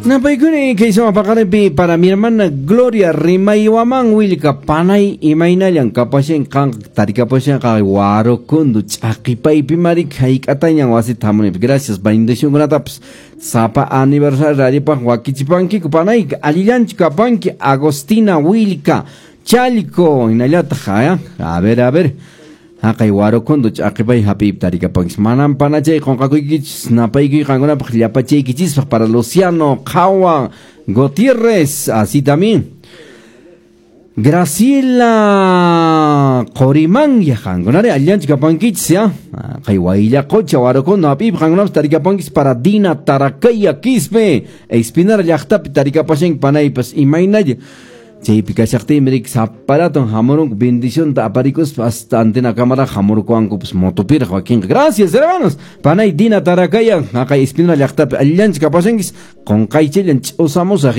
Napaykuni kay suma paqarinpi para mi hermana Gloria Rimaywaman Willka, panay, imaynallan kapashan qan? Tarikapashan qay Warukundu ch'aqipaypi marik hayk'atañan wasita hamunipi. Gracias, bendicionkunatapas sapa aniversario radiopaq wakichipankiku, panay, allillanchu kapanki? Agostina Willka, Chalco, hinallataq, a ver, a ver, haqay Warukundu ch'aqipay hap'iypi tarikapankis. Manam panachay qunqakuykichis, napaykuy qankunapaq llapachaykichispaq para Luciano Qhawa Gutiérrez, así también Graciela Qorimanya, qankunari allillanchu kapankichis ya? Kay Wayllaqocha Warukundu hap'iypi qankunapas tarikapankis. Para Dina Tarakaya Quispe, Espinar llaqtapi tarikapashanki, panaypas, imaynalla chaypi kashaqtiymi rik saparaton hamurunku bendicionta aparikuspa hasta antena cámara hamurkuwankupas motopiraq wakinqa. Gracias, hermanos. Panay Dina Tarakaya, haqay Espinal llaqtapi allillanchu kapashankis? Qunqaychillan ch'usamusaq.